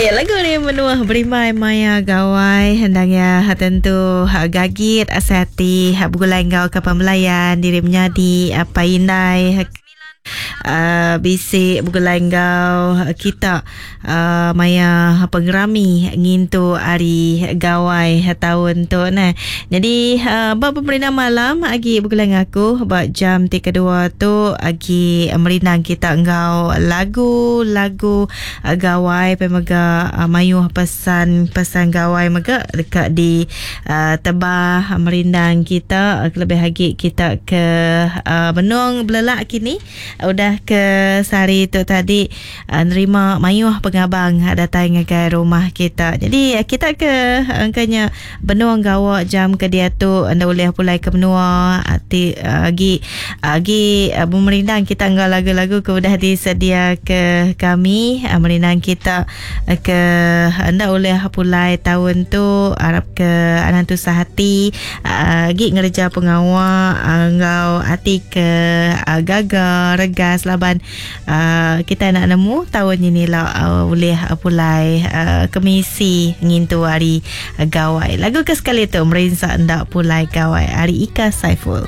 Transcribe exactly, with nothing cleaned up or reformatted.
Ya, lagu ni menua berimbai maya gawai hendang ya tentu gagit asai ati begulai enggau ke pembelayan diri menyadi apa indai Uh, bisi begulai enggau kita uh, maya pengerami ngintu hari gawai tahun tu nah. Jadi uh, ba pemerintah malam agi begulai ngaku ba jam ti kedua tu agi merindang kita enggau lagu-lagu uh, gawai pemega uh, mayuh pesan-pesan gawai mega dekat di uh, tebah merindang kita kelebih lagi kita ke uh, benung belelak kini udah ke sehari tu tadi uh, nerima mayuh pengabang datang ngagai rumah kita. Jadi kita ke angkanya benung gawa jam ke dia tu anda boleh pulai ke menua ati agi agi uh, merindang kita enggau lagu-lagu ke udah disedia ke kami uh, merindang kita uh, ke anda boleh pulai tahun tu harap ke anak tu sehati agi uh, ngerja pengawa uh, enggau ati ke uh, gaga regas laban uh, kita nak nemu tahun ini lah uh, boleh uh, pulai uh, kemisi ngintu hari uh, gawai. Lagu ke sekali tu merinsak ndak pulai gawai hari Ika Saiful.